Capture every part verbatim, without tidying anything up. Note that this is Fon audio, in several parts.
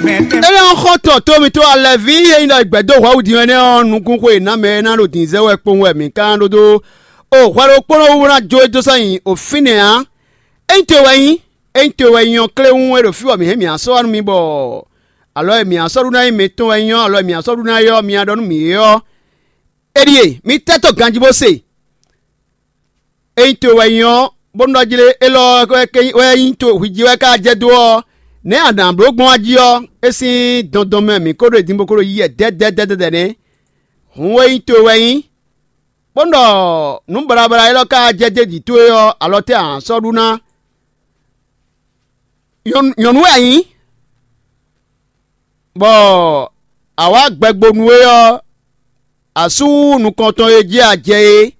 Énɛ́ ɔ́, xɔ́ntɔn tó mitɔn Alɛví e nyí ɖɔ è gbɛ̌ dó hwɛ̌ din wɛ nɛ́ ɔ́, nukúnxwe e nǎ mɛ é ná ɖo dǐndínzɛ́n wɛ kpowun wɛ mǐ ka ná ɖó dó. O hwɛ ɖokpónɔ wú ná jó é dó sɔ́ nyi o fínɛ́ ǎ. Ényí towe wɛ nyí, ényí towe wɛ nyí ɔ́, kléwún é ɖo fí bɔ mǐ hɛn mǐ ná sɔ́ wá nú mi bɔ alɔ e mǐ ná sɔ́ ɖu ná nyí mǐtɔn wɛ nyí ɔ́, alɔ e mǐ ná sɔ́ ɖu ná é ɔ́, mi ná ɖɔ nú mǐ é ɔ́, é ɖíe: mi tɛ́ tɔ́ ganjí bó se. Ényí towe wɛ nyí ɔ́, bónú ɖɔ jlé élɔ́ wɛ nyí to hwi jí wɛ ká jɛ dó ɔ́, nɛ̌ a nǎ bló gbɔn wá jí ɔ́, é sín dɔndɔn mɛ mǐ ko ɖo e din bó ko ɖo yí yɛ dɛ́dɛ́dɛ́dɛ́ nɛ́? Hǔn é nyí towe wɛ nyí, bónú ɖɔ nǔ baɖabaɖa élɔ́ ká jɛ dó jǐ towe ɔ́, alɔ tɛ́ a nǎ sɔ́ ɖu ná? Nyɔ̌nu wɛ a nyǐ, bɔ a wǎ gbɛgbonu é ɔ́, a sú nukɔntɔn e jí a jɛ é.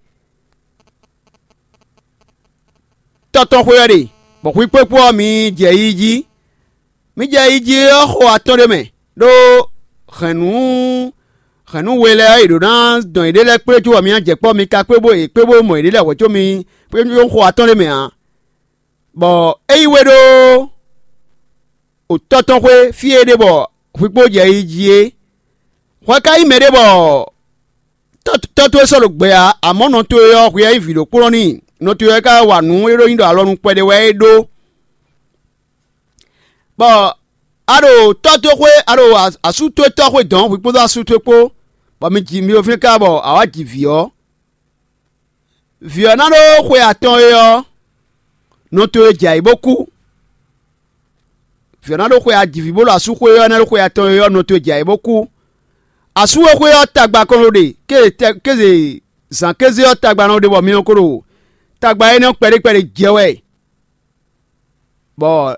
Tɔ́ tɔn xwé ɔ́ ɖe, bɔ hwi kpókpó ɔ́, mi jɛ yi jí. Mi jɛ yi jí ɔ́ xo atɔn ɖé mɛ, ɖó hɛ̌nnu hɛ̌nnu we lɛ́ɛ ɔ́, è ɖǒ ná dɔn yěɖée lɛ́ɛ kplé cóbɔ mi ná jɛ kpɔ́, mi ka kpé bó yě kpé bó mɔ yěɖée lɛ́ɛ hwɛ̌ có mi kpé xo atɔn ɖé mɛ ǎ. Bɔ é yí we ɖó o tɔ́ tɔn xwé fí e é ɖe bɔ hwi kpó jɛ yi jí é. Hwɛ ka nyí mɛɖé bɔ tɔ́ towe sɔ́ ɖo gbɛ ǎ, amɔ̌ nɔ towe ɔ́, hwi wɛ nyí vǐ ɖokpónɔ n'i; nɔ towe wɛ ka wa nǔ e ɖó nyi ɖɔ alɔnu kpɛɖé wɛ é ɖó. Bɔ a ɖo tɔ́ towe xwé, a ɖo asú towe tɔ́ xwé dɔ̌n, hwi kpódó asú towe kpó, bɔ mi ji mi ɖo fínɛ́ káká bɔ a wǎ ji vǐ ɔ́, vǐ ɔ́ ná ɖó xwe atɔn é ɔ́, nɔ towe jɛ ayǐ bó kú. Vǐ ɔ́ ná ɖó xwe ajiví bó ɖo asú xwé ɔ́, ná ɖó xwe atɔn e ɔ́, nɔ towe jɛ ayǐ bó kú. Asú e xwé ɔ́ tagba kɔn ɖo ɖe kéze zǎn kéze ɔ́ tagba nɔ ɖe bɔ mi nɔ ko ɖo tagba énɛ́ ɔ́ kpɛɖé kpɛɖé jɛ wɛ. Bɔ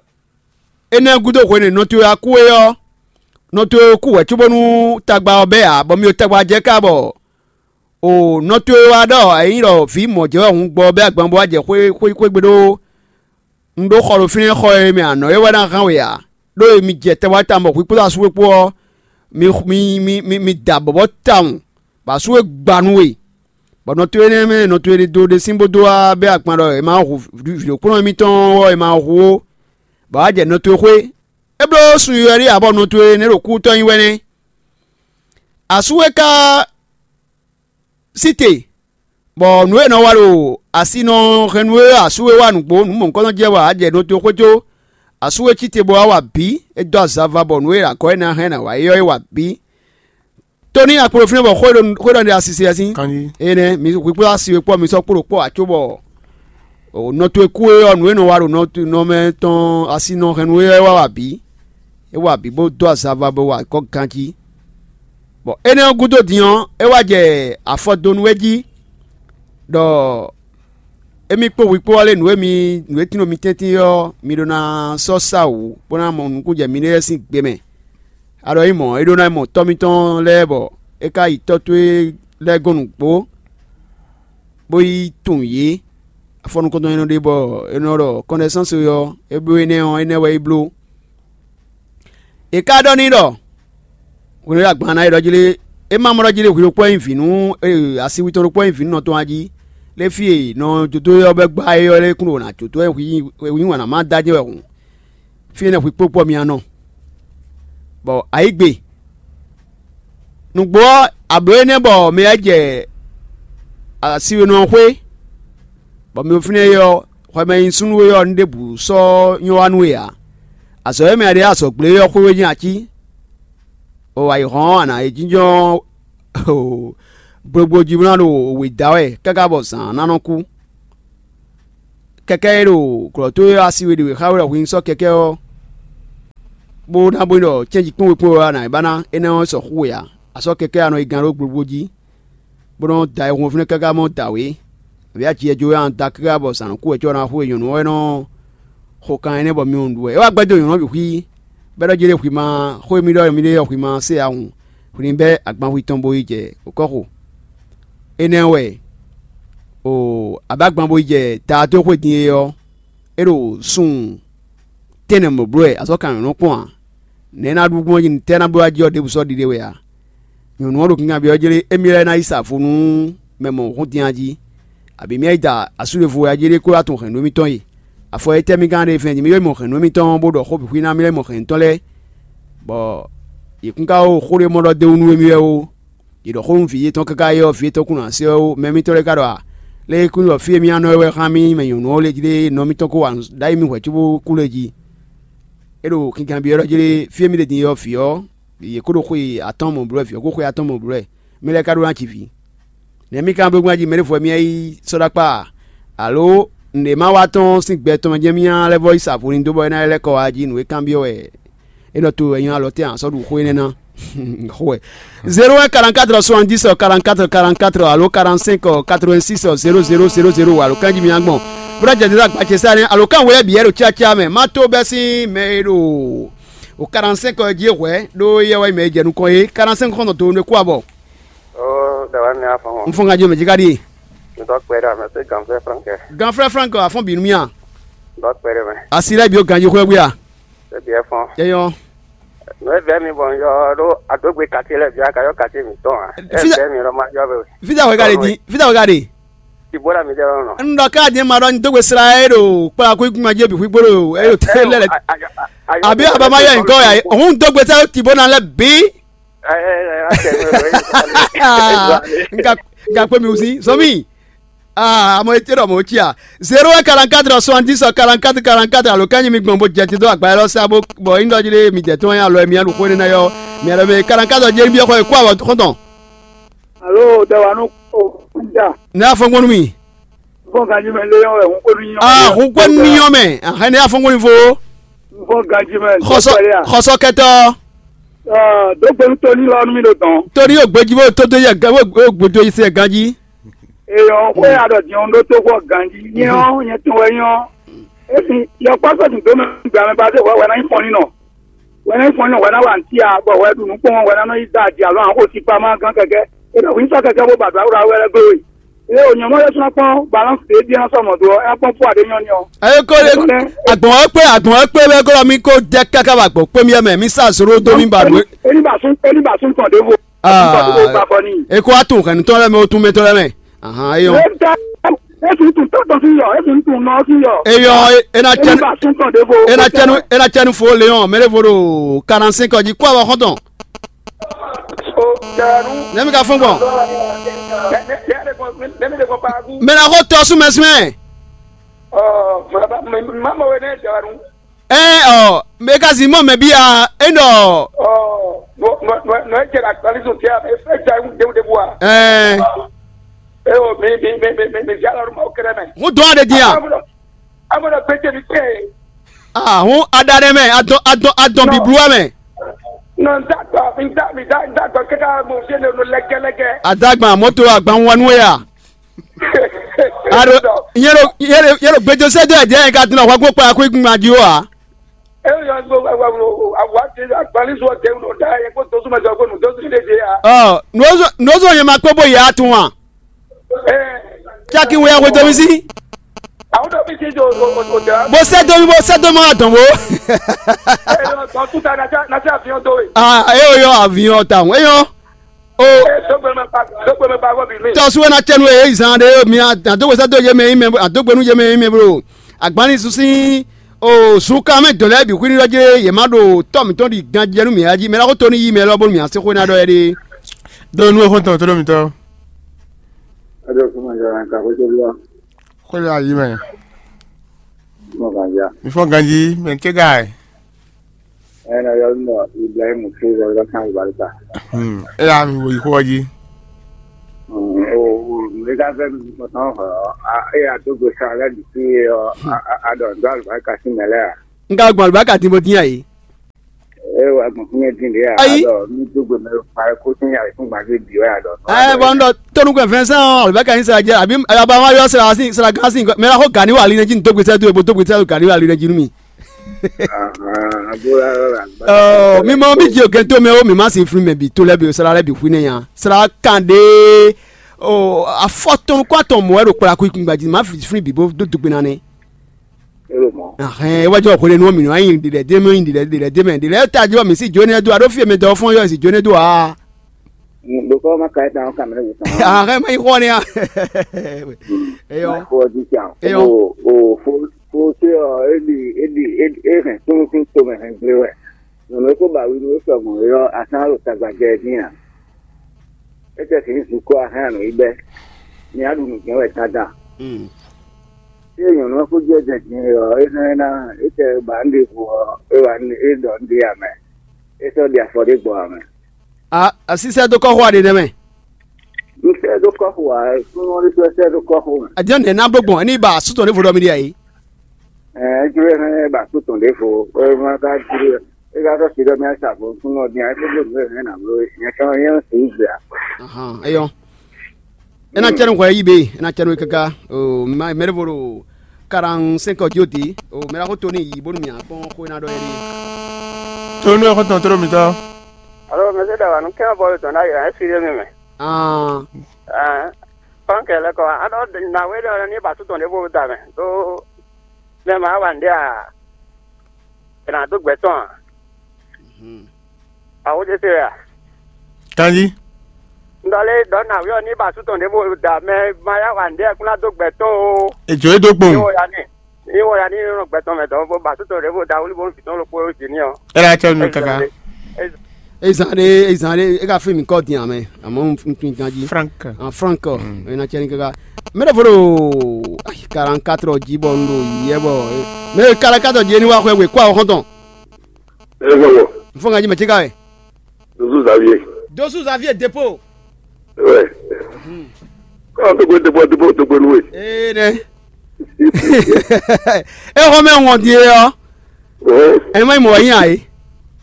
énɛ́ gúdo hwenu e nɔ towe wá kú é ɔ́, nɔ towe kú hwɛ̌ cóbónú tagba ɔ́ bɛ́ ǎ, bɔ mi ɖo tagba jɛ ká bɔ o nɔ towe wá ɖɔ è nyí ɖɔ vǐ mɔ̌ jɛ wɛ hǔn gbɔ bɛ́ agban bó wá jɛ xwé xwé xwégbe ɖó un ɖó xɔ ɖo fínɛ́ xɔ e mɛ a nɔ é wɛ ná hán we ǎ. Ɖó e mi jɛ tɛwá tawun bɔ hwi kpódó asú we kpó ɔ́, mi mi mi mi mi da bɔ̌bɔ́ tawun, bɔ asú we gba nú we, bɔ nɔ towe énɛ́ mɛ nɔ towe ɖo ɖe sín bó dó wá bɛ́ agban ɖɔ è ma hu vǐɖokpónɔ émítɔn ɔ́, è ma hu ó, bɔ wá jɛ nɔ towe xwé. É bló sun yɔ̌yɔ́ ɖé ǎ, bɔ nɔ towe nɛ́ ɖo kútɔ́ nyi wɛ nɛ́. Asú we ka sí te, bɔ nǔ e è nɔ wa ɖo asi nɔ hɛn nú we ɔ́, asú e wa nǔgbó nǔ mɔ̌hunkɔtɔn jɛ wɛ ǎ jɛ nɔ towe xwé có. Asú e cí te bó wá wa bǐ, é dó azava bɔ nǔ e è nǎ gɔ́ é ná hɛn ná wa é ɔ́, é wa bǐ. Tó ní akpo ɖo fínɛ́ bɔ xwé ɖɔ xwé ɖɔ ɖe asi se asi. Kanjí. Énɛ́ mi hwi kpó asi we kpɔ́ mi sɔ́ kpó ɖo kpɔ́ ǎ cóbɔ nɔ towe kú é ɔ́, nǔ e nɔ wa ɖo nɔ nɔ mɛ tɔn asi nɔ hɛn nú é ɔ́, é wá wa bǐ. É wa bǐ bó dó azava bó wa gɔ́ ganjí. Bɔ énɛ́ ɔ́ gúdo din ɔ́, é wá jɛ afɔ dó nú é jí, ɖɔ émí kpó hwi kpó ɔ́ lé nǔ e mi nǔ e tlínɔ mi tɛ́ntin é ɔ́, mi ɖó ná sɔ́ sa wǔ bó ná mɔ nukúnnú jɛ miɖée lɛ́ɛ sín gbe mɛ. A ɖɔ nyí mɔ̌, é ɖó ná nyí mɔ tɔ́ mitɔn lɛ́ɛ bɔ é ka yi tɔ́ towe lɛ́ɛ gɔ́n nǔgbó, bó yi tunwun yě. Afɔ nukɔntɔn e nɔ ɖe bɔ è nɔ ɖɔ kɔnɖɛsánswe ɔ́, é bló énɛ́ ɔ́, énɛ́ wɛ é bló. È ka ɖɔ n'i ɖɔ: "Hwenu e agban ná yi ɖɔ jlé, é ma mɔ ɖɔ jlé hwi ɖokpó wɛ nyí vǐ nú asiwi tɔn ɖokpó wɛ nyí vǐ nú nɔ tɔn a jí, lé fí e nɔ dodó ɔ́ bɛ́ gbá é ɔ́ lɛ́ɛ kún ɖo nǎ jó dó wɛ hwi yí wǎn ná má dó ajɛ́ wɛ hǔn, fí énɛ́ hwi kpókpó ɔ́ mi ná nɔ." Bɔ ayǐ gbe nǔgbó ɔ́, ablǒ énɛ́ bɔ mɛ lɛ́ɛ jɛ asiwénɔ ɔ́ xwé, bɔ mɛ fínɛ́ é ɔ́, hwɛ mɛ e nyí súnnu é ɔ́, nú ɖěbǔ sɔ́ nyɔ́ wá nú we ǎ. Azɔ̌ e mɛ a ɖe azɔ̌ gblé é ɔ́ xwé wɛ nyí ací. O ayǐ hɔ́n a nǎ yi jínjɔ́n gblogblo jí bó ná ɖo wě da wɛ káká bɔ zǎn ná nɔ kú. Kɛkɛ́ e ɖo glɔ̌ towe ɔ́ asi we ɖě wě xá we ɖɔ hwi ní sɔ́ kɛkɛ́ ɔ́, bó ná bó nyí ɖɔ cɛ́nji kpɔ́n we kpɔ́n we ɔ́, a nǎ yi ba ná énɛ́ ɔ́ sɔ́ xú we ǎ. A sɔ́ kɛkɛ́ a nɔ yi gán ɖó gblogbó jí, bó nɔ́ da ayihún ɔ́ fínɛ́ káká mɔ dǎwe. Abǐ aji e jó wɛ a nɔ da káká bɔ zǎn nɔ kú wɛ cóbɔ ná xú we nyɔ̌nu ɔ́ wɛ nɔ́ xo kan énɛ́ bɔ mi nɔ ɖu wɛ. É wá gbɛ́ dó nyɔ̌nu ɔ́ bǐ xwí, bɔ é ɖɔ jlé hwi ma xó e mì ɖɔ mì ɖe ɔ́ hwi ma se ǎ hǔn, hwi ní bɛ́ agbanhwi tɔn bó yi jɛ kɔ́xo. Énɛ́ wɛ, o abǎ gban bó yi jɛ Daadóxwé din é ɔ́, é ɖo sun tɛ́nnɛ mɔ̌ bló wɛ azɔ̌ kan nyɔ̌nu kpɔ́n ǎ. Nɛ̌ é ná ɖu gbɔn jí nǔtɛ́ ná bló wá jí ɔ́ ɖěbǔ sɔ́ ɖiɖe wɛ ǎ. Nyɔ̌nu ɔ́ ɖo kinkanbyɔ́ jlé émí lɛ́ɛ ná yi sa vo nú mɛ mɔ̌hun din a jí, abǐ mì yi da asúɖevo wɛ a jí ɖé kó wá tunwun hɛ̌nnu émítɔn e. Afɔ étɛ́ mì ka ná ɖe fɛ́n din? Mì yɔ mɔ hɛ̌nnu émítɔn bó ɖɔ xó bǐ xwí ná mì lɛ́ mɔ hɛ̌nnutɔ́ lɛ́ɛ. Bɔ yě kún ka xó ɖé mɔ ɖɔ d'é wú nú émí wɛ ó. Yě ɖɔ xó nú vǐ yětɔn káká é ɔ́, vǐ yětɔn kún ná se ɔ́ ó. Mɛ mitɔn lɛ́ɛ ka ɖɔ a? Lě e kún ɖɔ fí e mì nɔ wɛ xá mì mɛ nyɔ̌nu ɔ́ lě jí ɖé, nɔ mitɔn kó wa nǔ ɖ'ayǐ mì hwɛ̌ cóbó kú lě jí. É ɖo kinkanbyɔ́ ɖɔ jí ɖé, fí e mì ɖe din é ɔ́, vǐ ɔ́, yě kó ɖo xwe atɔ́ɔ́n mɔ blɔ́, vǐ ɔ́ kó xwe atɔ́ɔ́n mɔ blɔ́. Mɛ lɛ́ɛ ka ɖó ná ji vǐ. Nɛ̌ mì ka bló gbɔn jí mɛ ɖěvo wɛ mì yi sɔ́ ɖó akpá a? Alo nǔɖé ma wa tɔn sín gbɛ tɔn mɛ jɛ́n mì nya lɛ́ vɔ́ yi sa vo ní dó bɔ é ná lɛ́ kɔ wá jí nǔ e kanbyɔ́ wɛ é nɔ to wɛ nyɔ́ alɔ tɛ́ a sɔ́ ɖu xó énɛ́ ná? Xó wɛ. Zéro un quarante-quatre soixante-dix quarante-quatre quarante-quatre alo quarante-cinq quatre-vingt-six zéro zéro zéro zéro alo kanjí mi gbɔn. Bó ná jɛ dɛdɛ agba ce sá nɛ́ alo kan wɛ bǐ yɛ ɖo cácá mɛ má tó bɛ́ sín mɛ e ɖo o quarante-cinq jí hwɛ̌ ɖó yɛ wɛ mɛ e jɛ nukɔn é quarante-cinq xɔ́ntɔn to nú é kú abɔ. Ó, ɖe wá ní afɔn ŋɔ. Un fɔn ganjí mɛ jí ká ɖíe. Ŋdɔ kpɛ ɖe ame tó ganfɛ frankɛ. Ganfɛ frank afɔn bǐ nú mì a? Ŋdɔ kpɛ ɖe mɛ. Asi lɛ́ɛ bǐ ó ganjí xwé bwí a? Ṣé bǐ ɛ fɔn? Yɛ nyɔ. Nɔ e bɛ mi bɔ n yɔ ɖó adógbe kati lɛ bia ka yɔ kati mi tɔn a? Ɛ Fida- bɛ mi lɔ ma yɔ bɛ. Fida wɛ ka ɖe di? Fida wɛ ka ɖe? Ti bó la mi jɛ lɔ nɔ. N ɖɔ ká di ma ɖɔ n dógbe sra e ɖo kpla kú ikú ma jɛ bi xwí gbolo e ɖo tɛ lɛ lɛ. Abi aba ma yɔ nkɔ ya. Òun dógbe sɛ ti bó na lɛ bi. Nga kpé mi wusí sɔmi. Aa amɔ etí ɖɔ mɔ̌ cia. Zéro un quarante-quatre soixante-dix quarante-quatre quarante-quatre alo kányi mi gbɔn bó jɛ tito agba élɔ́ sá bó bɔ nyí ɖɔ jí ɖé mi jɛ tɔn alɔ mi aɖu xó énɛ́ ná yɔ mi alɔ mɛ quarante-quatre jɛ nyi byɔ́ xɔ e kú awɔ xɔntɔn. Alo tɛ wa nú o ja. Ne afɔngbɔnu mi. Fɔn ganji mɛ lé yɔn wɛ hun kpónú nyɔ. Aa hun kpónú nyɔ mɛ ahɛn ne afɔngbɔnu fo. Fɔn ganji mɛ. Xɔsɔ xɔsɔ kɛtɔ. Dó gbɛnu tóní lɔ nú mi ɖo dɔn. Tóní yóò gbéjú bó tó dó yɛ gán yóò gbójú yìí sí yɛ gán jí. Eyɔn xwe aɖɔ diɔn ɖó tó xɔ ganji nyɛ ɔ nyɛ tɔn wɛ nyɔ. Esi yɔkpɔsɔ tun dó mɛ gbɛ amɛ ba dé wɛ wɛ ná nyí fɔn nínɔ. Wɛ ná nyí fɔn nínɔ wɛ ná wa ntí a bɔ wɛ ɖu nǔ kpɔn wɛ ná nɔ yi da adi alo ahɔn xo si kpa ma gán kɛkɛ. E ɖɔ wí sɔ kɛkɛ bó ba do awura wɛ lɛ glo yi. Eye wònyɔ mɔ ɖésú ná kpɔn balance ɖé bia sɔ́ mɔ̌ dó ɔ́, é ná kpɔ́n fú aɖé nyɔ́ ní ɔ́. Eye ko ɖe agbɔn ɔ́ kpé agbɔn ɔ́ kpé bɛ glɔ́ mi ko jɛ káká ba gbɔn kpé mi mɛ mi sa zoro dó mi ba nǔ. Eni ba sún eni ba sún tɔn ɖěvo. Aa Ba kɔ ní. Eko atu hɛn tɔn lɛ mɛ o tun mɛ tɔn lɛ mɛ. Ahan eyɔ. Esi tun tɔtɔ sí yɔ, esi tun nɔ sí yɔ. Eyɔ ena Eni cɛnu ba sún tɔn ɖěvo. Ena cɛnu ena cɛnu fo leon mɛ ɖe vo ɖo quarante-cinq ɔ́ jí kó awɔ xɔntɔn. O janu. Nɛmi ka fún gbɔn. Nɛmi de kɔ pagu. Mɛ na ko tɔ sún mɛ sún mɛ. Ɔ mama mama we ne janu. Ɛ ɔ mɛ ka zi mɔ mɛ bi a e nɔ. Ɔ nɔ nɔ nɔ e jɛ ka kpali so tia e fɛ ja ŋu dewu dewu a. Ɛ. E o mi mi mi mi mi mi via lɔ ma o kɛrɛ mɛ. Ŋu dɔn de di a. Amɔ na gbɛjɛ mi kɛ. Ah ŋu ada ɖe mɛ adɔn adɔn adɔn biblu wa mɛ. Nɔ n da gbɔ mi da mi da n da gbɔ kɛkɛ mo fi ne no lɛgɛlɛgɛ. Adagban mɔto agban wanu ya. Alo yɛlɛ yɛlɛ yɛlɛ gbɛjɔ sɛ do ɛdiyɛ yɛ ka dun na hwagbɔ kpa ko igun ma di o a. Eyo yɔ gbɔ wa wa wa wa wa ti agbali sɔ tɛ wulɔ da yɛ ko dosu ma jɔ ko nu dosu de de ya. Ɔ nɔzɔ nɔzɔ yɛ ma kpɔ bɔ yɛ atun wa. Ɛ Caki wɛ ya hwe domi si. Àwọn tó fi ti do o o o da. Bó sɛ domi bó sɛ domi wa dɔn bo. Ɛ yɔ tɔ tuta na ca na ca fi hàn tó ye. Ah eyo yɔ avion ta o eyo. O Ɛ dɔgbe mɛ ba dɔgbe mɛ ba wɔ bi mi. Tɔsu wɛ na cɛnu e zan ɖe mi adógbesá dó yé mɛ yi mɛ adógbenu yé mɛ yi mɛ bro. Agbani susi o suka mɛ dɔn lɛ bi xwiri lɔ jɛ yɛ ma ɖo tɔ mi tɔn di gan jɛ nu mi aji mɛ la ko to ni yi mɛ lɔ bonu mi ase xo na ɖɔ yɛ ɖe. Dó nú exɔntɔn tó ɖo mi tɔ. Adó kuma jara ka ko jɛ lɔ. Xwé ɖo ayi mɛ. Mɔ kan ja. Mi fɔ ganji mɛ ké ga yi. Ena yɔ nɔ Ibrahim Traoré lɔ kan barika. Hmm. E ya mi wo yi xɔ ji. O o ne ka fɛ mi kɔtɔn hɔ e ya to go sa la di ti ɔ a dɔ ndo albarika si mɛ lɛ ya. N ka gbɔn albarika ti bo din ya yi. E wa gbɔn fún yẹn din de ya. Ayi. Dɔ mi to go mɛ pa ko sin ya fún gbàgbé bi ya dɔ. Ɛ bɔn n dɔ tonu kɛ fɛn sɛn ɔ albarika ni sara jɛ abi aba ma yɔ sara si sara gan si mɛ la ko gani wa ali ne ji n dogbe sɛ do ebo dogbe sɛ do gani wa ali ne ji nu mi. Ɔ mi mɔ mi ji o gɛnto mɛ o mi ma si fún mɛ bi to lɛ bi o sara lɛ bi fún ne ya sara kan de o afɔ tɔn kó atɔn mɔ wɛ ɖo kpla kú ikungba ji ma fi fún bi bó dó dugbe na nɛ. Ahɛn e wájú ọkùnrin ni wọn mìíràn yìí dilẹ dé mẹ yìí dilẹ dilẹ dé mẹ dilẹ ta jọ mi sí jóni ẹdó adó fíyẹ mi dọ fún yọ sí jóni ẹdó a. Dokɔ ma ka ẹ tán ọkà mi lẹ wò tán. Ahɛn mẹ yìí xọ ni a. Eyọ. Kó ọdún tí a. Eyọ. O o fo fo ṣé ọ éli éli éli é hẹn tó tó tó mẹ hẹn gblé wẹ. Nyɔ̌nu e ko ba wi nú we sɔgɔn é ɔ́, a sán ɖo tagba jɛ ɛ dín ǎ. É tɛ sǐ zukɔ́ a hɛn nǔ yi bɛ́. Mi á ɖu nǔ jɛ́n wɛ dandan. Ée nyɔ̌nu ɔ́ kó jɛ jɛ din é ɔ́, é hɛn ná é tɛ ba nǔ ɖěvo ɔ́, é wa é ɖɔ nǔ ɖé ǎ mɛ. É sɔ́ ɖi afɔ ɖé gbɔ ǎ mɛ. A asísɛ dó kɔ́ xó aɖe nɛ́ mɛ. Un sɛ́ dó kɔ́ xo ǎ, súnnu ɔ́ ɖésú wɛ sɛ́ dó kɔ́ xo mɛ. Adiɔ nɛ ná bló gbɔn, ní ba asú tɔn ɖěvo ɖɔ mi ɖi ayǐ. Ɛɛ, é jló hɛn ba asú tɔn ɖěvo, é ma ka jló é ka sɔ́ si ɖɔ mì asa vo súnnu ɔ́ dín ayé kó bló nǔ e hɛn ná bló é. Nyɛ kan nyɛ ń sǐ gbé a. Ahan, eyɔn. Ena cɛnu hwɛ yi be, ena cɛnu kaka. O ma mɛɖe vo ɖo quarante-cinq ɔ́ jí o di. O mɛɖa xó to ní yi bónú mì akpɔn xó ena ɖɔ yɛ ɖi. Tonu ɛ xɔtɔn toro mitɔ. Alo, mɛ se ɖa wa nú kɛn bɔ tɔn ɖa yɛ ɛ siri mi mɛ. Ah. Ah. Pankɛ lɛ kɔ, a ɖɔ na we ɖɔ ní ba su tɔn ɖe bo da mɛ. Do mɛ ma wa nde a. Ena do gbɛ tɔn a. Awo de se a. Kanji. Ndɔle dɔ na wi ɔ ní ba su tɔn ɖe bo da mɛ ma ya wa nde a kuna do gbɛ tɔn o. Edzo e do kpɔn. Ni wo ya ni. Ní wɔ ya ní nɔ gbɛtɔn mɛ dɔn bó ba tó tɔn ɖě bó da wlí bó vǐ tɔn ɖokpó jí ní ɔ. Ela cɛ nu kaka. Ezan ɖe, ezan ɖe e ka fí mi kɔ din amɛ, àmọ́ n tún ganji. Frank. Ah, Frank, e na cɛ ni kaka. Mɛ ɖe fo ɖo quarante-quatre jí bɔ n ɖo yɛ bɔ mɛ quarante-quatre jí ni wa xwɛ we kó awɔ xɔntɔn. Ezɔnwɔ. N fɔ ganji mɛ tí ka wɛ. Dozu Xavier. Dozu Xavier Dépôt. Ouais. Kọ́ tó gbé dépôt dépôt tó gbé nú wé. Ee nɛ. E xɔ mɛ ŋɔ di e ɔ. Ɛn ma yi mɔ yi ayi.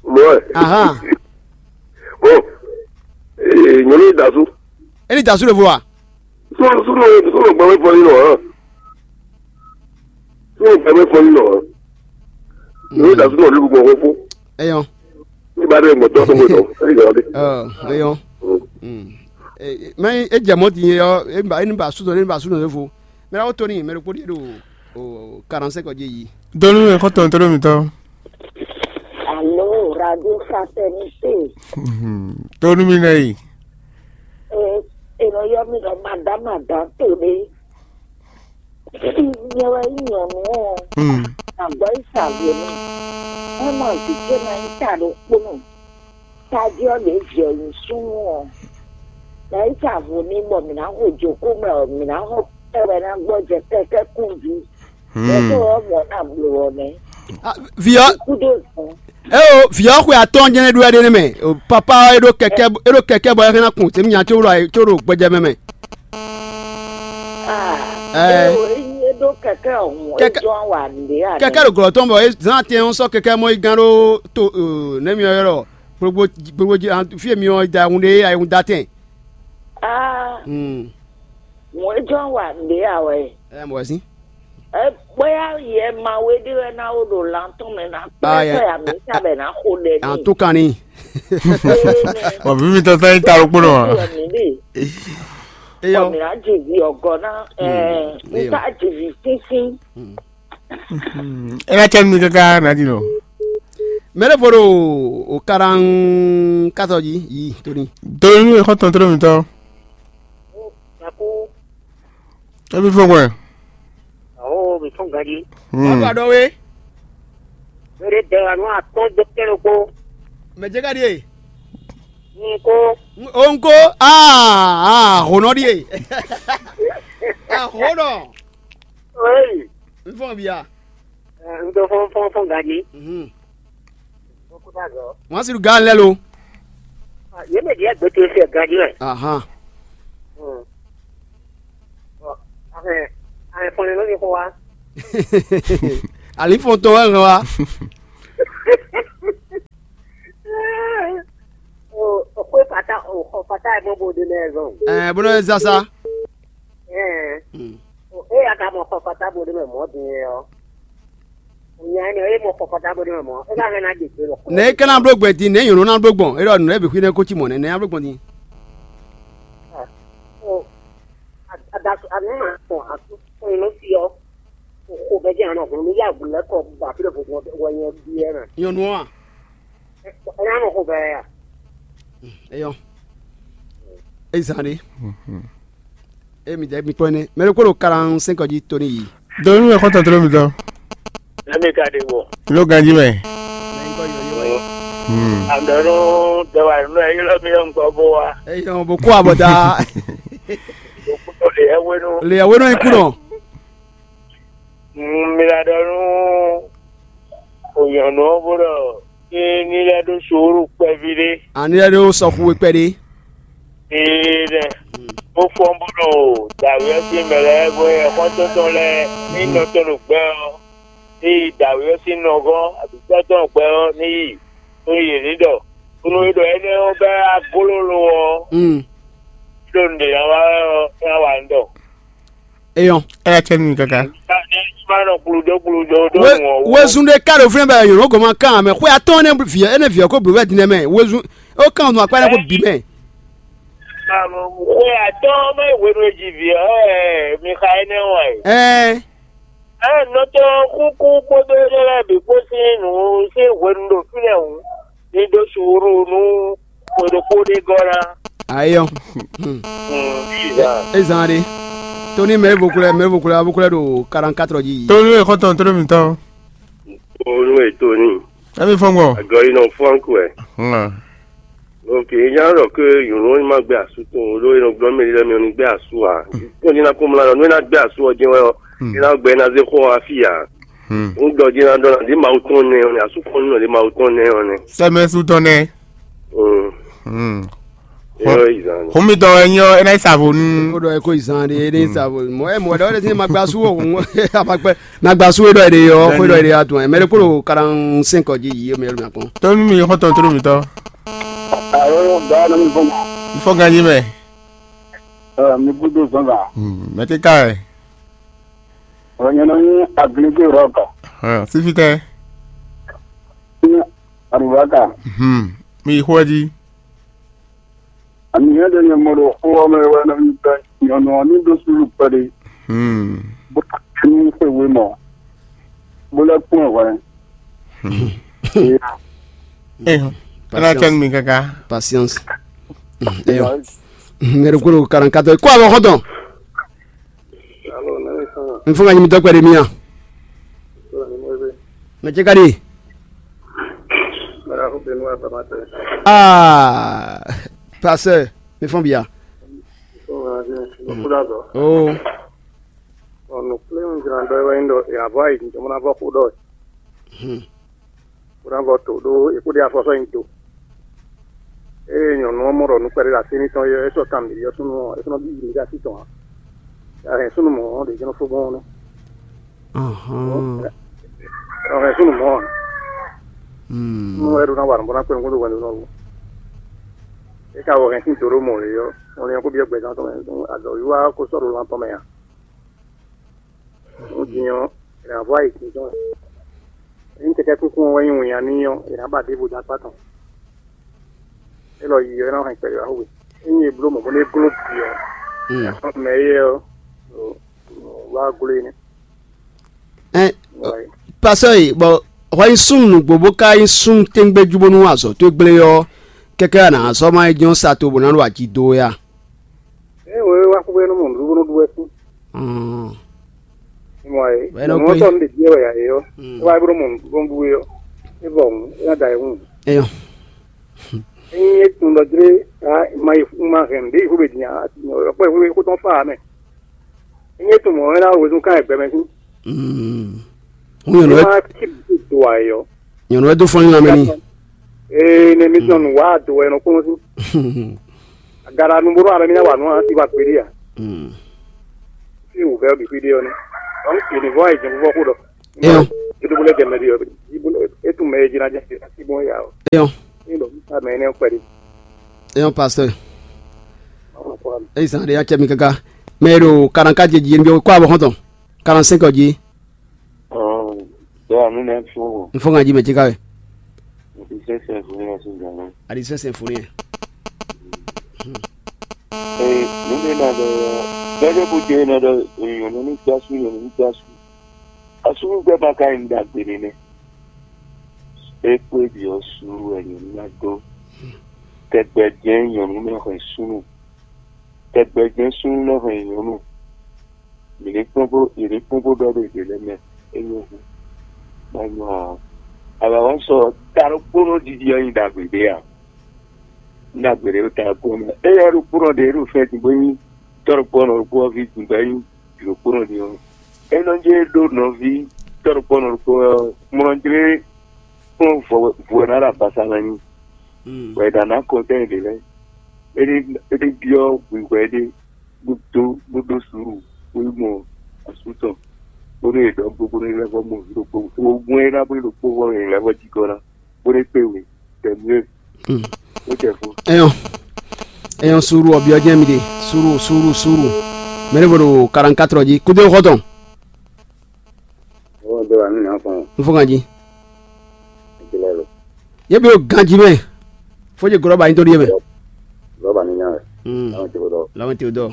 Mɔ. Ahan. Bon. Ee nyɔnu dazu. E ni dazu le vo wa. Sunu sunu sunu gbɛmɛ fɔ yi nɔ hàn. Sunu gbɛmɛ fɔ yi nɔ hàn. Nyɔnu dazu nɔ lulu gbɔ fɔ. Eyɔn. Ní ba ɖe gbɔtɔ tó gbɔtɔ. Ɛyɔ de. Eyɔn. Mɛ e jɛ mɔ din yɔ e ba e ni ba sutɔ ne ba sutɔ ne fo. Mɛ la wo to ni mɛ ɖokpó ɖi ɖo o quarante-cinq ɔ́ jí yi. Donu mi xɔtɔn tɔn mi tɔ. Alo, radio fraternité. Donu mi nɛ yi. E e nɔ yɔ mi ɖɔ madam madam to ɖe. Nyɛ wɛ nyí nyɔ̌nu ɔ́, agbɔ̌ yi sa vo n'i. É mɔ vǐ ce ná nyí ta ɖokpónɔ. Tají ɔ́ ɖě vǐ ɔ́ nyí súnnu ɔ́, ná yi sa vo n'i bɔ mǐ ná xo jǒkó mɛ ɔ́, mǐ ná xɔ pɛ́ wɛ ná gbɔjɛ kɛ́kɛ́ kún jí. Yɛ tó ɔ́ mɔ̌ ná bló ɔ́ nɛ́. Vǐ ɔ́, Kúdó zɔn. Eo, vǐ ɔ́ xwe atɔ́ɔ́n jɛ́n é ɖó wɛ ɖé nɛ́ mɛ. Papa ɔ́, é ɖó kɛkɛ́, é ɖó kɛkɛ́ bɔ é hɛn ná kun tě mì nya có ɖo ayé có ɖo gbɛjɛ mɛ mɛ. Ah, Ɛɛ. Eo, é ɖó kɛkɛ́ ɔ̀hún, é Kɛkɛ́- jɔ́n wa nǔɖé ǎ. Kɛkɛ́ ɖo glɔ̌ tɔn bɔ é zán atɛn ɔ́ sɔ́ kɛkɛ́ mɔ yi gán ɖó to nɛ́ mi ɔ́ ylɔ́ gbogbo gbogbo jí fí e mi ɔ́ da hun ɖe ayihun da tɛn. Ah, Hmm. Wọ́n jọ wà ní àwẹ̀. Ɛ mɔ wɛ sín. Ɛ bóyá yɛ ma wé dé wɛ ná wó ɖo lantɔn mɛ ná Ah, pẹ́ yɛ- sɛ àmì sábẹ̀ ná xo ɖẹ À ń ní. Tó kan ní. Ɔ bí mi tɔn sẹ́yìn ta ló kpónɔ wa. Yɛ mi lè. Eyɔ. Kɔmi á jìbì ọ̀gọ́ ná. Ẹ Mm, eyɔ. Nta jìbì fínfín. Ẹ bá cẹ́ mi kankan náà di nọ. Mɛ ɖé fo ɖo o karan katɔ jí yi tóni. Donu e xɔ tɔn tɔn mi tɔ. Yaku. Ebi fɔ gbɛ. Awo mi tún ganji. Wọ́n bá dɔ wé. Bere bẹ̀rẹ̀ àánú àtọ́ jẹ kẹ́lẹ́ kó. Mɛ jẹ́ ká di e. N kó. O n ko aa aa honɔ di e. Ahonɔ. Oyi. N fɔ bia. N tó fɔn fɔn fɔn ganji. Mhm. Wọ́n sì ga lẹ́ lo. Yé mɛ diẹ gbé tó ṣe ganji rẹ̀. Ahan. Àfẹ́ àfẹ́ fɔnlẹ́ ló ní kó wa. Àlífɔ̀ntɔn wɛ hàn wá. O xwe fata o xɔ fata ɛ mɔ bo de lɛ zɔn. Ɛ bó ló zasa. Ɛ o e ya ka mɔ xɔ fata bo de mɛ mɔ din yɛ ɔ. O nya ne e mɔ xɔ fata bo de mɛ mɔ e ka hɛn na de gbe lɔ. Ne e kana blo gbɛ din ne yòló na blo gbɔn e ɖɔ nù e bì xwi ne ko ci mɔ ne ne ya blo gbɔn din. O adasu anu ma kpɔn asu kpɔn inú fi ɔ. Xo bɛ jɛ anɔ hun mi ya gu lɛ kɔ ba fi ɖe vo wɔ nyɛ biɛ na. Nyɔnu wa. Ɛna nɔ xo bɛ ya. Eyɔ. Ezan de. E mi dɛ mi kpɔn ne. Mɛ ɖe kó ɖo quarante-cinq jí tóni yi. Donu mɛ xɔtɔn tlo mi tɔ. Ɛmɛ ka ɖe bɔ. Lo ganji mɛ. Mɛ ŋkɔ yɔ yɔ. Àdɔ̀nú dɛwà nínú ẹ ylɔ́ mì ɔ́ ŋkɔ bó wá. Eyɔn bó kó abɔda. Lè ɛ wénú. Lè ɛ wénú ikú nɔ. Mi la ɖɔ nú ònyɔ̀nú ɔ́ bó ɖɔ ní ní lɛ́ ɖó suúlu kpɛví ɖé. Àní lɛ́ ɖó sɔxu e kpɛɖé. Ee nɛ. Bó fɔ́n bó ɖo dǎwe ɔ́ sín mɛ lɛ́ɛ bó yɛ xɔ́ntɔn tɔn lɛ́ɛ ní nɔ tɔn ɖo gbɛ ɔ́. Ní yi dǎwe ɔ́ sín nɔgɔ́ abǐ tɔ́ tɔn gbɛ ɔ́ ní yi nú yě ní ɖɔ. Nú é ɖɔ énɛ́ ɔ́ bɛ́ aglólo ɔ́. Ɖó nǔɖé ná wá wɛ ɔ́, é ná wa nǔ ɖɔ. Eyɔn. Ɛ yà cɛ nú mi káká. Ní má nɔ kpludó kpludó ɖó nǔ ɔ́ wú. Wezun ɖé ká ɖo fínɛ́ bɛ nyɔ̌nu gɔ́ ma kán mɛ xwé atɔ́ɔ́n nɛ́ vǐ énɛ́ vǐ ɔ́ kó blǒ wɛ din nɛ́ mɛ wezun ó kán nɔ akpá nɛ́ kó bǐ mɛ. Xwe atɔ́ɔ́n mɛ hwenu e ji vǐ ɔ́ wɛ mi xa énɛ́ wɛ. Ɛɛ. Ɛ nɔtɔn kúkú kpódó énɛ́ lɛ́ɛ bǐ kpó sín nǔ sín hwenu ɖo fínɛ́ hǔn, ní ɖó suúlu nú xwe ɖokpó ɖé gɔ́ ná. Ayɔ. Ezan ɖe. Tony mɛ vo kulɛ mɛ vo kulɛ abo kulɛ ɖo quarante quatre ji. Tony e xɔtɔn Tony mitɔn. Onu e Tony. Emi fɔn gbɔ. Agɔ yi nɔ fɔn kuɛ. Ok, nya ɖɔ ke yòló ma gbé asú tɔn o ɖó e nɔ gblɔ mɛ lɛ mi ò ní gbé asú a. Kɔn jí ná kó mla nɔ nú e ná gbé asú ɔ jɛn wɛ ɔ, e ná gbɛ ná zé xɔ afi a. Ń dɔ jí ná dɔ ná dé mawu tɔn nɛ ɔ nɛ asú kɔn nɔ dé mawu tɔn nɛ ɔ nɛ. Sɛmɛ su tɔn nɛ. Yɔ izan. Xɔmitɔ ɛ nyɔ ɛ ná yi savo nu. Ko dɔ ɛ ko izan de ɛ ní savo mɔ ɛ mɔ dɔ ɛ ní ma gbé asú o. Amagbɛ na gbé asú e dɔ ɛ de yɔ xɔ dɔ ɛ de atun ɛ mɛ de kó lo quarante cinq ji yi mɛ yɔrɔ mi akɔn. Tɔnu mi xɔtɔn tɔnu mi tɔ. Awo ba na mi fɔ. Ifɔ ganji mɛ. Mi gúdo zɔnzan. Mɛ ti ka ɛ. Ɔnyɛnɛ ní aglégé rɔka. Sífítɛ. Ní arubaka. Mi yi xó ɛ jí. Àmì yẹn ɖe nyɛ mɔ ɖo xó ɔ́ mɛ wɛ nɔ mi bɛ nyɔnu ɔ́ ní ɖó súlù kpɛɖé. Bó ká ní xwe wé mɔ. Bó lɛ́ kpɔ́n ɛ hwɛ. Ena cɛn mi kaka. Patience. Eyɔ. Mɛ ɖokpó ɖo quarante-quatre kó avɔ xɔtɔn. N fún ka nyi mi dɔgbe ɖe mía. Mɛ ce ka ɖi. Aa, pasteur, mi fɔn bia. Oh. Ɔnù kplé ń jira dɔ wɛ ń ɖɔ yàvɔ ayi jìjɔ mɔ ná vɔ kó ɖɔ. Bó ná vɔ to ɖó é kó ɖe afɔ sɔ́ nyi to. Ée nyɔ̌nu ɔ́ mɔ ɖɔ nǔ kpɛɖé ɖo así n'i tɔn é, é sɔ́ kan mǐ ɔ́ súnnu ɔ́, é sɔ́ nɔ bí mǐ ɖo así tɔn ǎ. A hɛn súnnu mɔ̌ ɔ́ ɖě jɛ́n nɔ fó gbɔn ɔ́ nɛ́. Ɔ hɛn súnnu mɔ̌ ǎ. Nú é ɖó ná wa nǔ bó ná kpé nukún dó hwɛndo nɔ wú. É ka wɔ hɛn sín do ɖó mɔ lě ɔ́, ɔn lɛ́n kó byɔ́ gbɛzán tɔn mɛ, azɔ̌wiwa ɔ́ ko sɔ́ ɖo lan tɔn mɛ ǎ. Nú din ɔ́, è nǎ vɔ ayǐ jínjɔ́n ɛ. Ényí kɛkɛ́ kúnkún ɔ́ wɛ nyí winnyá n'i ɔ́, è nǎ ba ɖěvo dó akpá tɔn. Élɔ́ yi ɔ́, é ná hɛn kpɛɖé wá xwé. Ényí è bló mɔ̌ bó nɔ́ gló bǐ ɔ́, mɛ éyɛ́ ɔ́, wá gló e nɛ́. Ɛn, pasɔ e bɔ hwɛ nyí súnnu nǔgbó bó ka nyí súnnu tɛ́ngbɛ́ jú bónú azɔ̌ towe gblé ɔ́, kɛkɛ́ a nǎ zɔ́ má é jɛ́n sa to bó ná ɖo aji dó wɛ a? Ée wǒ é wá xwé nú mɔ nǔɖuɖu nú ɖu wɛ sín. Mɔ é Wɛ é nɔ mɔ gbé. Tɔn ɖe biɛ wɛ ya é ɔ́. É wá é bó nɔ mɔ nǔɖuɖu nú ɖu é ɔ́, é vɔ hǔn é ná da ayǐ hǔn. Eyɔn. Ényí é tunwun ɖɔ jlé ma yi ma hɛn nǔɖé yi xwé din ɔkpɔ xwé xó tɔn fa mɛ. Ényí é tunwun mɔ̌ é ná wezun kán ɛgbɛ mɛ sín. Hún nyɔ̌nu wɛ ma kí do ayɔ. Nyɔ̌nu wɛ dó fɔ́n nyi lanmɛ n'i. Ee ne mi sɔn nǔ wá do wɛ nɔ kplɔ́n sín. Agara nu bó ɖo abɛ mi ná wa nǔ a ti wa kpeɖé a. Fi wǔvɛ́ ɔ́ bǐ xwíɖé ɔ́ nɛ́. Ɔ́n, yě ní vɔ́ ayǐjɛ́nxó vɔ́ xó ɖɔ. Eyɔn. Yíɖúbú lɛ́ jɛ mɛ ɖi ɔ́, é tunwun mɛ e jí ná jɛ sí bɔn ya ɔ́. Eyɔn. Ní ɖɔ mɛ énɛ́ kpɛɖé. Eyɔn pasteur. Eyi zan ɖe ya cɛ mi kaka. Mɛ e ɖo karanka jɛ jí yé ní bí kó abɔ xɔntɔn. Quarante-cinq ɔ́ jí. Ɔɔ, bɛɛ a mi nɛ fún o. N fɔ ŋa jí mɛ jí ká wɛ. N ti sɛ sɛ fún yẹn sí gan náà. A di sɛ sɛ fún yẹn. Ee, nínú iná ɖɔ, bɛɛ bó jẹ iná ɖɔ, èèyàn ní ní gbásù, èèyàn ní ní gbásù. Asúnúgbɛ́ ma ka nyí ɖagbe nɛnɛ. É kpé ɖi ɔ́ sú wɛ nyɔ̌nu ná dó. Tɛgbɛ jɛ́n nyɔ̌nu nɔ hɛn súnnu. Tɛgbɛ jɛ́n súnnu nɔ hɛn nyɔ̌nu. Mǐ ní kpɔ́n bó, mǐ ní kpɔ́n bó ɖɔ ɖo yě lɛ́ɛ mɛ. É nyɔ́ hú. Má nyɔ́ ǎ. Avǎ ɔ́ sɔ ta ɖokpónɔ ɖiɖi ɔ́ nyi ɖagbe ɖé a? Nyi ɖagbe ɖé ɖo ta ɖokpónɔ mɛ. Éyɛ́ ɖokpónɔ ɖě ɖo fɛ́ din bó nyí tɔ́ ɖokpónɔ ɖokpó ɔ́ ví din bɔ é nyí vǐ ɖokpónɔ din ɔ́, é nɔ jɛ ɖó nɔví tɔ́ ɖokpónɔ ɖokpó ɔ́ mlɔjlé kplɔ́n vɔ ná ɖo agbasa ná nyi. Bɔ è ɖǎ ná kɔntɛ́n ɖě lɛ́ɛ. É ɖé é ɖé byɔ́ hwihwɛ ɖé bó dó bó ɖó suúlu bó yi mɔ asú tɔn bónú è ɖɔ gbogbo nú lɛ́ vɔ mɔ vǐ ɖokpó. Ogun e ná bó ɖokpó vɔ è lɛ́ vɔ jigɔ́ ná bó ɖé kpé we tɛmɛ ó jɛ fó. Eyɔn, eyɔn, suuru ɔbyɔ jɛn mi ɖe. Suuru, suuru, suuru. Mɛ ɖé vo ɖo quarante-quatre jí kúdé xɔtɔn. Ó ɖó wà nínú yàn fún un. N fún kan jí. Ìjìnlẹ̀ lò. Yé bí o ganjí mɛ. Fó jẹ gɔlɔba yín tó ɖíe mɛ. Lọ́ba ní nyá rẹ̀. Hmm. Láwọn tí kò dọ́. Láwọn tí o dɔ.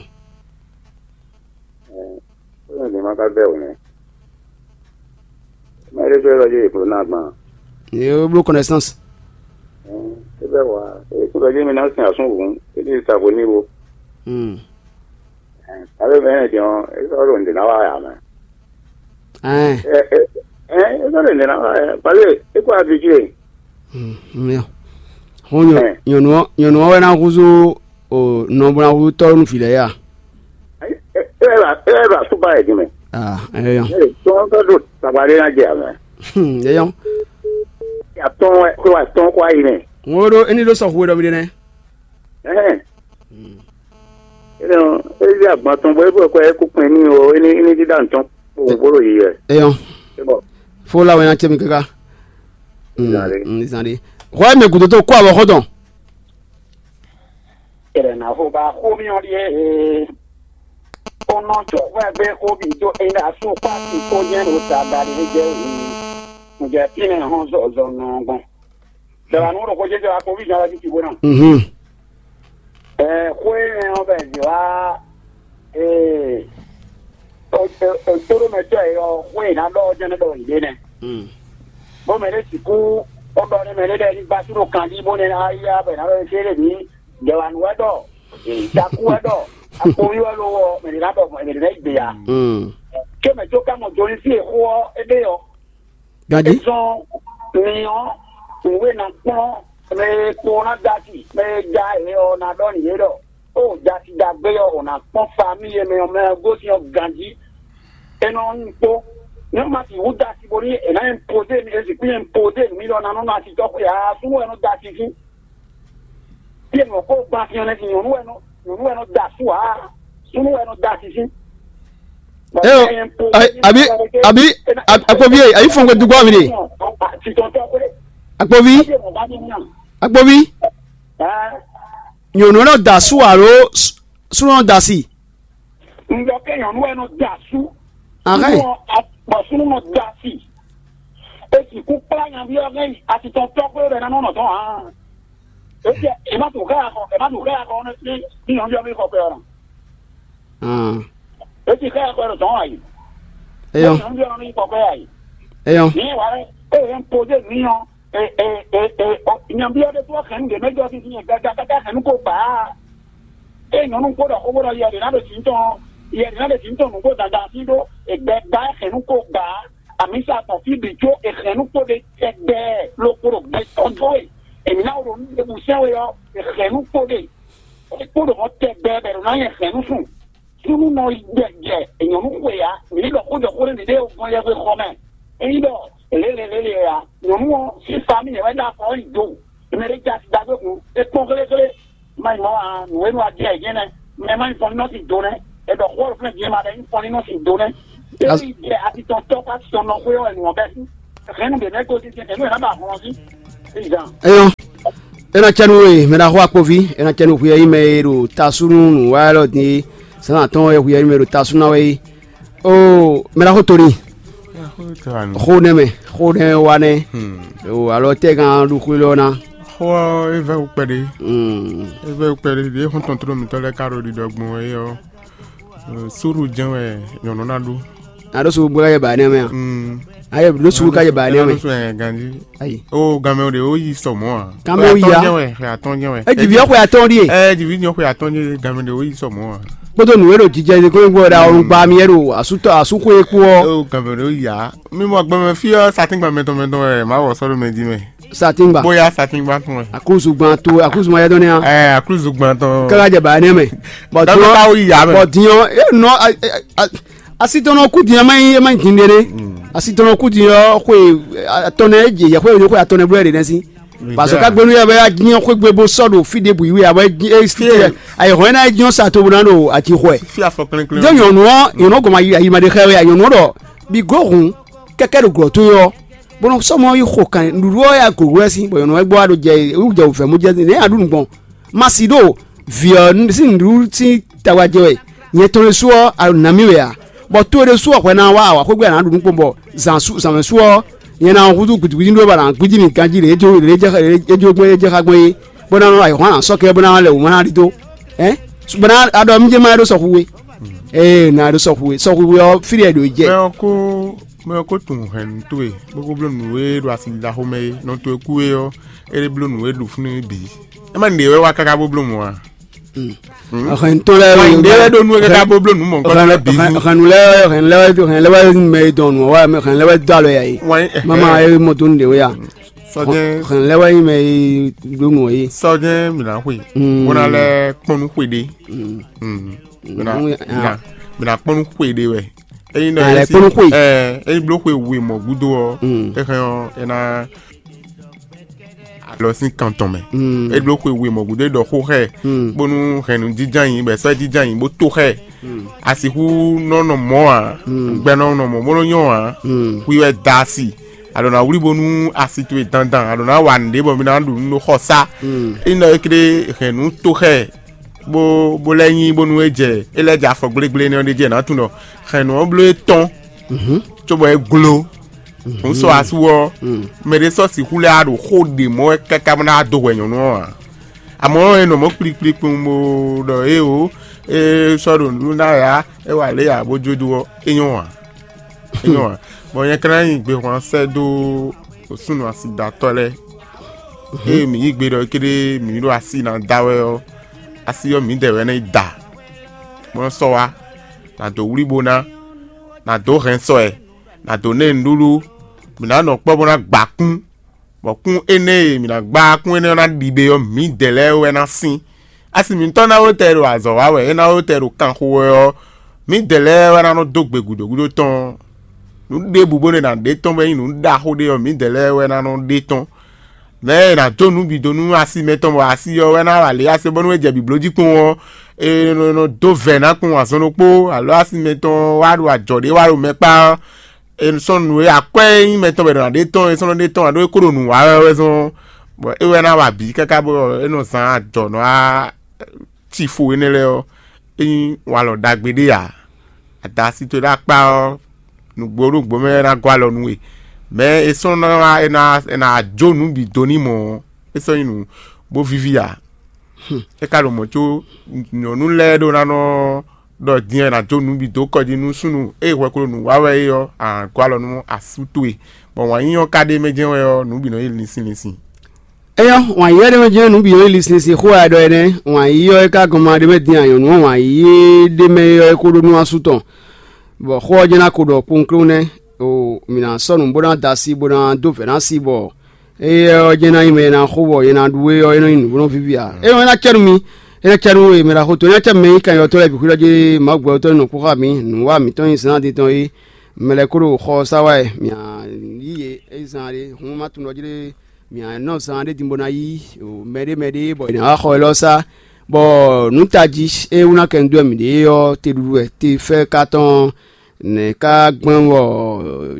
Ó yàn ní ma ka bẹ́ òun. Má yẹ fẹ́ lọ yé ìkúrò náà gbọ́n. Yé o bló connaissance. Ẹ bẹ́ wà. Ìkúrò yé mi náà sìn àsún òun. Èdè ìsàbò ní wo. Hmm. Alo bɛ yɛn jɔn e sɔ ɖo ŋdě ná wa ya mɛ. Ɛn. Ɛ ɛ ɛ e sɔ ɖo ŋdě ná wa ya pale e kó abidjue. Mía. Hɔn nyɔ nyɔnu ɔ nyɔnu ɔ wɛ ná húzú o nɔ bó ná húzú tɔ́ nú vǐ lɛ́ɛ ya. E e e ba e ba suba yɛ jumɛ. Ah, ɛyɔ. Tɔn tɔ do tagba ɖe ná jɛ amɛ. Ɛyɔ. Atɔn wɛ kó atɔn kó ayi mɛ. Ŋo ɖo eni ɖo sɔxu ɖɔ mi ɖe nɛ. Ɛhɛn. Énɛ́ ɔ́, é zé agban tɔn bɔ é bɔ kɔ é kú kpɛn n'i ó, é ní é ní dídá nǔtɔn kpowun bó ɖo yiyɛ. Eyɔn. É bɔ Fó lá wɛ ná cɛ mi káká. Zan ɖé. Zan ɖé. Hwɛ mɛ gǔdo tó kó avɔ xɔ́ntɔn. Ɛrɛ na xo ba xó mi ɔ́ ɖíe ee. Ó nɔ tsɔ́ hwɛ gbé xó bǐ dó é ɖo asú kpá sí kó jɛ́n ɖo ta ba ɖě jɛ wǔ. Ǹjẹ́ fínɛ́ hɔn zɔzɔ nɔ gbɔn. Dɔ̌ wá nú ɖo xó jɛ́jɛ́ wá kpoví zɔn wá títí bó nɔ. Mhm. Ɛ xó énɛ́ ɔ́ bɛ zě wá ee tóɖómɛtɔ́ e ɔ́ xó e ná ɖɔ ɔ́ jɛ́n nɔ ɖɔ yě ɖe nɛ́. Mm. Bó mɛ ɖé sixú ó ɖɔ nú mɛ ɖé ɖɔ ní gbású ɖo kanjí bó nɛ́ ná yá bɔ è nǎ ɖɔ é kéré mǐ dɔ̌ wá nú wɛ ɖɔ takú wɛ ɖɔ akpoví wɛ ló wɔ mɛ ɖé ná ɖɔ mɛ ɖé ná yi gbe ya. Mm. Ké mɛ tó ká mɔ do ní sí e xó ɔ́ é ɖe ɔ́. Ganjí. Ezɔn mi ɔ́, nǔ e ná kplɔ́n mɛ e kpo ná dó asi, mɛ e ja yě ɔ́ ná ɖɔ nǔ yě ɖɔ, ó dó asi ɖagbe ɔ́, ò nǎ kpɔ́n famíyi e mɛ ɔ́ mɛ ɔ́ gosín ɔ́ ganjí. É nɔ nyí kpó. Nú ma sixú dó asi bónú è nǎ impozé mi, è sixú impozé nǔ mi ɖɔ ná nɔ nɔ asi tɔ́ xwe ǎ, súnnu wɛ nɔ dó asi fí. Fí e nǔ ɔ́ kó gban fí ɔ́ nɛ́ sin nyɔ̌nu wɛ nɔ nyɔ̌nu wɛ nɔ da asú ǎ, súnnu wɛ nɔ da así sín. Eo, abi abi akpovi e ayi fɔn gbɛ dugbo mi de. Titɔntɔ kwe. Akpovi, akpovi. Nyɔ̌nu nɔ da asú alo súnnu nɔ da así. Un ɖɔ kɛ nyɔ̌nu wɛ nɔ da asú. Ahɛn. Bɔ súnnu nɔ da así. E sixú kplá nyaví ɔ́ hɛn yi atitɔntɔ́ xwé ɖɔ ná nɔ nɔ tɔn ǎ. E jɛ e má to xá ya xɔ e má to xá ya xɔ ní ní nyɔ̌ví ɔ́ mi xɔ pɛ ɔ́ nɔ. E ti xá ya xɔ ɖo tɔn ayi. Eyɔ. Nyɔ̌ví ɔ́ mi xɔ pɛ ayi. Eyɔ. Ní wa e yɛn pozé mi ɔ́ e e e e nyɔ̌ví ɔ́ ɖe tó xɛn ɖě mɛ jɔ títí nyɛ gaga káká xɛn kó gbà á. E nyɔ̌nu kpó ɖɔ xó bó ɖɔ yɛ ɖě ná ɖo tǐ tɔn yɛ ɖě ná ɖo tǐ tɔn nǔgbó dandan sí ɖó e gbɛ gbá xɛn kó gbà á. Amǐsa tɔn fí bǐ có è hɛn nú kpóɖé tɛgbɛ lókpó ɖo gbɛ tɔn dó e èmǐ ná ɖo nú ɖěbǔ sɛ́n we ɔ́, è hɛn nú kpóɖé. É kpó ɖo mɔ̌ tɛgbɛ bɔ è ɖǒ ná nyɛ hɛn nú sùn. Súnnu nɔ yi jɛ jɛ nyɔ̌nu xwe ǎ, mǐ ní ɖɔ xó jɔ xó nú mǐɖée gbɔn yɛhwe xɔ mɛ. Ényí ɖɔ lě lě lě lě ǎ, nyɔ̌nu ɔ́ sín famíli wɛ ɖo afɔ ɔ́ yi do. Mɛ ɖé jɛ asi ɖagbe hǔn, é kpɔ́n xléxlé. Má nyí mɔ̌ ǎ, nǔ e nɔ wa jɛ ayǐjɛ́nɛ, mɛ má nyí fɔnlínnɔ sín do nɛ́. È ɖɔ xó ɔ́ ɖo fínɛ́ din e ma ɖɔ nyí fɔnlínnɔ sín do nɛ́. Ényí jɛ atitɔntɔ́ kpó atitɔnnɔ xwé ɔ́ wɛ nǔ ɔ́ bɛ́ sín. Hɛ̌nnu ɖě mɛ gosín sín hɛ̌nnu e ná ba hlɔn ɔ́ sín. Izan. Eyɔn, é ná cɛ nú we, mɛ ɖaxó akpoví, é ná cɛ nú hwi e nyí mɛ e ɖo tasú nú nǔ wa élɔ́ din é, zǎn atɔ́ɔ́n wɛ hwi e nyí mɛ e ɖo tasú ná wɛ é. Oo, mɛ ɖaxó Toni, xó nɛ́ mɛ, xó nɛ́ wa nɛ́. Oo, alɔ tɛ́ gán ɖo xwé lɔ ná. Xó ɔ́, é vɛ́ wú kpɛɖé. Mm. É vɛ́ wú kpɛɖé, ɖěe xɔ́ntɔn tlóló mǐtɔn lɛ́ɛ ka ɖo ɖiɖɔ gbɔn wɛ é ɔ́, súɖu jɛ́n wɛ nyɔ̌nu ná ɖó. A ɖó sugu bó ká jɛ bǎ énɛ́ mɛ a? Mm. A yɛ ɖó sugu ká jɛ bǎ énɛ́ mɛ. Ganjí. Ayi. Ó, ganmɛ ɖě ó yi sɔ mɔ̌ ǎ. Ganmɛ ó yi ya. Xwe atɔ́ɔ́n jɛ́n wɛ. É ji vǐ ɔ́ xwe atɔ́ɔ́n ɖíe. Ɛ ji vǐ nyɔ xwe atɔ́ɔ́n jɛ́n ganmɛ ɖě ó yi sɔ mɔ̌ ǎ. kpódó nǔ e ɖo jijɛ ɖe kɔn gbɔ ɖe awɔnugba mi yɛ ɖo asútɔ asúxwé kpó ɔ́. Ó gǎnmɛ ɖó ya. Mi mɔ gbɛmɛ fí ɔ́, satíngba mɛtɔn mɛtɔn wɛ má wɔ sɔ́ ɖo mɛ jí mɛ. Satíngba. Bóyá satíngba tɔn wɛ. Aklúzugban to aklúzugban yɛ dɔn ní a. Ɛ aklúzugban tɔn. Káká jɛ bǎ nɛ mɛ. Bɔn Dɔnku diɔ ká wó yi yá mɛ. Bɔn diɔ e nɔ asi tɔn nɔ kú diɔ ma nyi e ma nyi din ɖe ɖe. Asi tɔn nɔ kú diɔ xwe atɔn nɛ e jɛ xwe xwe atɔn nɛ bló yɛ ɖe nɛ sí. Parce que kagbenu yɛ bɛ ya diɔ xwe gbe bó sɔ ɖo fí ɖe bǔ yi wɛ abɔ e si tɛ ayi hɔn ena e diɔ sa to bó ná ɖo ati xɔɛ. Fi afɔ klɛnklɛn. Jɛ nyɔnu ɔ nyɔnu gɔma yi ayi ma ɖe xɛ wɛ nyɔnu ɖɔ bi glo hun kɛkɛ ɖo glɔ to yɔ. Bɔn sɔmɔ yi xo kan nuɖuɖu ɔ́ ya gǒgó wɛ sín bɔ nyɔ̌nu wɛ gbɔ wá ɖo jɛ wú jɛ wǔvɛ́ mú jɛ nɛ̌ a ɖu nǔ gbɔn? Ma si ɖo vǐ ɔ́ sín nǔɖuɖu sín tawa jɛ wɛ. Nyɛ tɔn ɖésú ɔ́, a ɖo nǎ mì wɛ ǎ, bɔ towe ɖésú ɔ́ hwɛ ná wá awǎxógbé a nǎ ɖu nǔ kpɔn bɔ zǎn sú zǎnmɛ sú ɔ́, nyɛ ná húzú gǔdúgúdú ɖó bɔ a nǎ gbídí mì ganjí ɖě é jó ɖě é jɛ xá gbɔn é, bó ná nɔ ayǐhɔ́n a nǎ sɔ́ kɛ bó ná lɛ wǔ má ná ɖidó. Ɛ bó ná a ɖɔ mí jɛ má ɖó sɔxu we. Ee, ná ɖó sɔxu we, sɔxu we ɔ́, fí ɖě ɖo jɛ. Mɛ ɔ́ kó mɛ ɔ́ kó tunwun hɛ̌nnu towe, bó kó bló nǔ e ɖo asi ɖaxó mɛ é. Nɔ towe kú é ɔ́, é ɖe bló nǔ e ɖu fúnú bǐ. É má nǔɖé wɛ wá káká bó bló mɔ̌ ǎ. Hɛn tɔn lɛ Wá nǔɖé wɛ ɖó nú é káká bó bló nǔ mɔ̌hunkɔtɔn lɛ́ɛ bǐ. Hɛn lɛ hɛn lɛ wɛ hɛn lɛ wɛ mɛ dɔn nǔ wa hɛn lɛ wɛ dɔ alɔ ya yi. Wá yín, mama e mɔ dó nǔɖé wɛ ya. Sɔjɛ́n hɛn lɛ wɛ yi mɛ yi ɖó nǔ yi. Sɔjɛ́n mǐ ná xwe. Bó ná lɛ́ kpɔ́n nú xwe ɖé. Mǐ ná kpɔ́n nú xwe ɖé wɛ. Ényí nɔ Alɛ kpɔ́n nú xwe. Ényí bló xwe we mɔ̌ gúdo ɔ́, é hɛn ɔ́ é ná alɔ sín kan tɔn mɛ. É bló xwe we mɔ̌ gúdo é ɖɔ xó xɛ, bónú hɛn nú jínján yǐ bɔ è sɔ́ jínján yǐ bó tó xɛ. A sixú nɔ nɔ mɔ̌ ǎ, gbɛ nɔ nɔ mɔ̌ bó nɔ nyɔ́ ǎ. Xwi wɛ da asi, a ɖǒ ná wlí bónú asi towe dandan, a ɖǒ ná wa nǔɖé bɔ mi ná ɖu nǔ ɖo xɔ sá. Ényí nɔ é kplé hɛn nǔ tó xɛ bó bó lɛ́ nyí bónú é jɛ é lɛ́ jɛ afɔ gblégblé énɛ́ ɔ́ ɖ'é jí è nǎ tunwun ɖɔ hɛ̌nnu ɔ́ bló é tɔ́n, cóbɔ é gló. Nǔ sɔ́ asú ɔ́, mɛ ɖé sɔ́ sixú lɛ́ wá ɖo xó ɖě mɔ wɛ káká bó ná wá dó hwɛ nyɔ̌nu ɔ́ ǎ. Amɔ̌, è nɔ mɔ̌ kplikplikpun bó ɖɔ éeǒ, é sɔ́ ɖo nǔɖuɖu ná wɛ ǎ, é wa lě ǎ bó jó dó ɔ́, é nyɔ́ ǎ. É nyɔ́ ǎ. Bɔ nyɛ ka ná nyi gbehwan sɛ́ dó súnnu asidatɔ́ lɛ́ɛ. Ée mǐ yí gbe ɖɔ ékéɖée mǐ ɖo asi ná da wɛ ɔ́, asi ɔ́ mǐdɛɛ wɛ ná yi da, bó nɔ́ sɔ́ wá, nǎ dó wlí bó ná, nǎ dó hɛn sɔ ɛ, nǎ dó ná ɛ nǔɖuɖu, mǐ ná nɔ kpɔ́ bó ná gba kún, bɔ kún énɛ́ e mǐ ná gba kún énɛ́ ɔ́ ná ɖi ɖe ɔ́, mǐdɛɛ lɛ́ɛ wɛ ná sín. Asi mǐtɔn ná wó tɛ ɖo azɔ̌ wa wɛ, é ná wó tɛ ɖo kanxo wɛ ɔ́, mǐdɛɛ lɛ́ɛ wɛ ná nɔ dó gbe gǔdo gúdo tɔn. Nǔ ɖěbǔ bónú è nǎ ɖe tɔn bɔ é nyí nǔ ɖaxó ɖé ɔ́, mǐdɛɛ lɛ́ɛ wɛ ná nɔ ɖe tɔn. Mɛ̌ è nǎ dó nǔ bǐ dó nú asi mɛtɔn bɔ asi ɔ́ wɛ ná wa lě asi bónú é jɛ bǐbló jí kpɔ́n ɔ́, è nɔ nɔ dó vɛ̌ ná kpɔ́n azɔn ɖokpó, alɔ asi mɛtɔn wá ɖo ajɔ̌ ɖé wá ɖo mɛ kpá ɔ́, è nɔ sɔ́ nǔ e akwɛ́ e nyí mɛtɔn wɛ è nɔ ná ɖe tɔn, è sɔ́ nɔ ɖe tɔn ǎ ɖó é kó ɖo nǔ wa wɛ wɛ zɔn, bɔ é wɛ ná wa bǐ káká bɔ é nɔ zán ajɔ̌ nɔ wá ci fo énɛ́ lɛ́ɛ ɔ́, é nyí walɔ ɖagbe ɖé ǎ. Ada asi towe ɖo akpá ɔ́, nǔgbó nǔgbó mɛ wɛ ná gɔ́ alɔ nú we. Mɛ̌ è sɔ́ ná wá è nǎ è nǎ jó nǔ bǐ dó n'i mɔ̌ ɔ́, é sɔ́ nyí nǔ bó víví ǎ. É ka ɖo mɔ̌ có nyɔ̌nu lɛ́ɛ ɖó ná nɔ ɖɔ din ɔ́ è nǎ jó nǔ bǐ dó kɔ jí nú súnnu e hwɛ ko ɖo nǔ wa wɛ é ɔ́, a nǎ gɔ́ alɔ nú asú towe, bɔ wǎn yíyí ɔ́ ka ɖ'é mɛ jɛ́n wɛ ɔ́, nǔ bǐ nɔ nyí linsin linsin. Éyɔ́, wǎn yíyí ɔ́ ɖ'é mɛ jɛ́n nǔ bǐ nɔ nyí linsin linsin xó wɛ a ɖɔ énɛ́. Wǎn yíyí ɔ́ é ka gɔn ma ɖ'é mɛ din a nyɔ̌nu ɔ́ wǎn yíyí ɖ'é mɛ ɔ́ é ko ɖó nú asú tɔn, bɔ xó ɔ́ jɛ́n ná ko ɖɔ kpowunklewun nɛ́. O, mǐ ná sɔ́ nǔ bó ná da asi bó ná dó vɛ̌ ná asi bɔ éyɛ́ ɔ́ jɛ́n ná nyí mɛ e ná xo bɔ nyɛ ná ɖu é ɔ́, é nɔ nyí nǔ bó nɔ víví ǎ. É nɔ ná cɛ́ nú mi, é ná cɛ́ nú we, mɛ ɖaxó to, é ná cɛ́ nú mɛ e nyí kanyɔ́tɔ́ lɛ́ɛ bǐ xwíɖɔ jí Mawu gbɛtɔ́ nɔ kpó xá mǐ, nǔwa mǐtɔn nyí zǎn din tɔn é. Mɛ lɛ́ɛ kó ɖo xɔ ɔ́ sá wá wɛ, mǐ a yí yě é zán ɖé, hǔn má tunwun ɖɔ jí ɖé mǐ a nɔ zán ɖé din bó ná yí mɛɖé mɛɖé bɔ è nǎ wá xɔ élɔ́ sá, bɔ nǔ tají e wú ná kɛ nǔ dó wɛ mǐ ɖe é ɔ́, te ɖuɖu wɛ te fɛ́ ka tɔn nɛ̌ ka gbɛ́n bɔ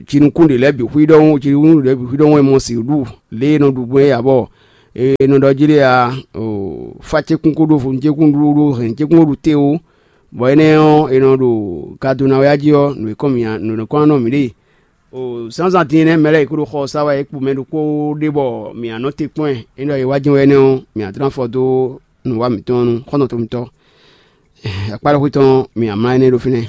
jinukún ɖě lɛ́ɛ bǐ xwí ɖɔhun, jinukún ɖě lɛ́ɛ bǐ xwí ɖɔhun e mɔ sǐ ɖu lě e è nɔ ɖu gbɔn é ǎ, bɔ è nɔ ɖɔ jí ɖé ǎ, fá cékún kó ɖó vo cékún ɖó ɖó hɛ̌n cékún kó ɖu té ó, bɔ énɛ́ ɔ́, è nɔ ɖo gado ná wɛ á jí ɔ́, nǔ e kɔn mǐ nǔ e kɔn ná nɔ mǐ ɖe. O zǎnzǎn din énɛ́ mɛ lɛ́ɛ è ko ɖo xɔ ɔ́ sá wɛ é kpo mɛ ɖokpó ɖé bɔ mǐ a nɔ te kpɔ́n ɛ, é ɖɔ è wá jɛ́n wɛ énɛ́ ɔ́, mǐ a tlán afɔ dó nǔwa mǐtɔn ɔ́ nu xɔ́ntɔn mitɔn. Akpá ɖo xwé tɔn mǐ a mlá énɛ́ ɖó fínɛ́.